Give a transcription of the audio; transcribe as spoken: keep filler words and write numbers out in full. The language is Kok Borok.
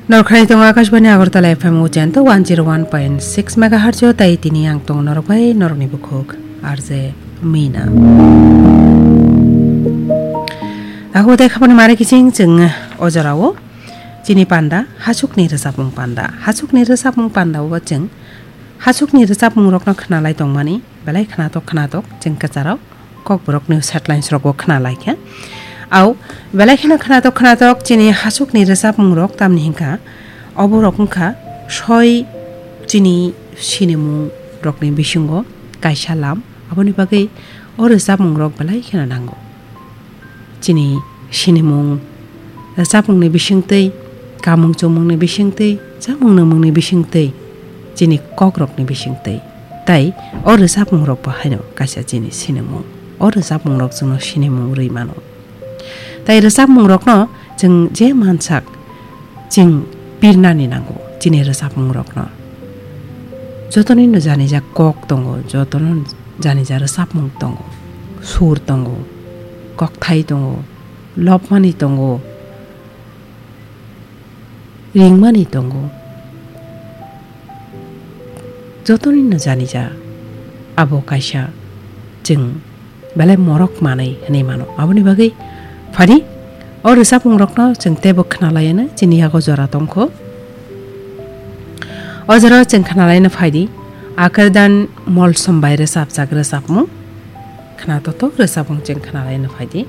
Norok khnai tongo Akashbani Agartala F M o chento one zero one point six megahertz o, tai tini ang tongo norok bai norokni bukhuk R J Mina. Ako tei khapani mare kiching chwng o jorao chini panda, hasukni rwchapmung panda. Hasukni rwchapmung panda o chwng hasukni rwchapmungrokno khnalai tongmani, belai khnatok khnatok chwng kwcharok kokborokni headlines rokbo khnalai kha. Au, belai kheno khnatok khnatok chini hasukni rwchapmungrok tamni hinkha, oborok wngkha soi chini sinimung rokni bisingo kaisa lam, aboni bagwi o rwchapmungrok belai kheno nango. Chini sinimung, rwchapmungni bisingtwi, kamung chumungni bisingtwi, chamung nungmungni bisingtwi, chini kokrokni bisingtwi. Tai o rwchapmungrokbo haino kaisa chini sinimung. O rwchapmungrok chwngno sinimung rwi mano. Tai rwchapmungrokno chwng je mansak, chwng pirnani nango chini rwchapmungrokno. Jotonino janijak kok tongo, jotono janijak rwchapmung tongo, sur tongo, kokthai tongo, lobmani tongo, ringmani tongo. Jotonino janijak abo kaisa chwng belai morok manwi hwnwi mano. Aboni bagwi phadi o rwchapmungrokno chwng teibo khnalaiano chini yago jora tongkho. O jorao chwng khnalaino phaidi, Akardan Molsom bai rwchapjak rwchapmung. Khnatotok rwchapmung chwng khnalaino phaidi.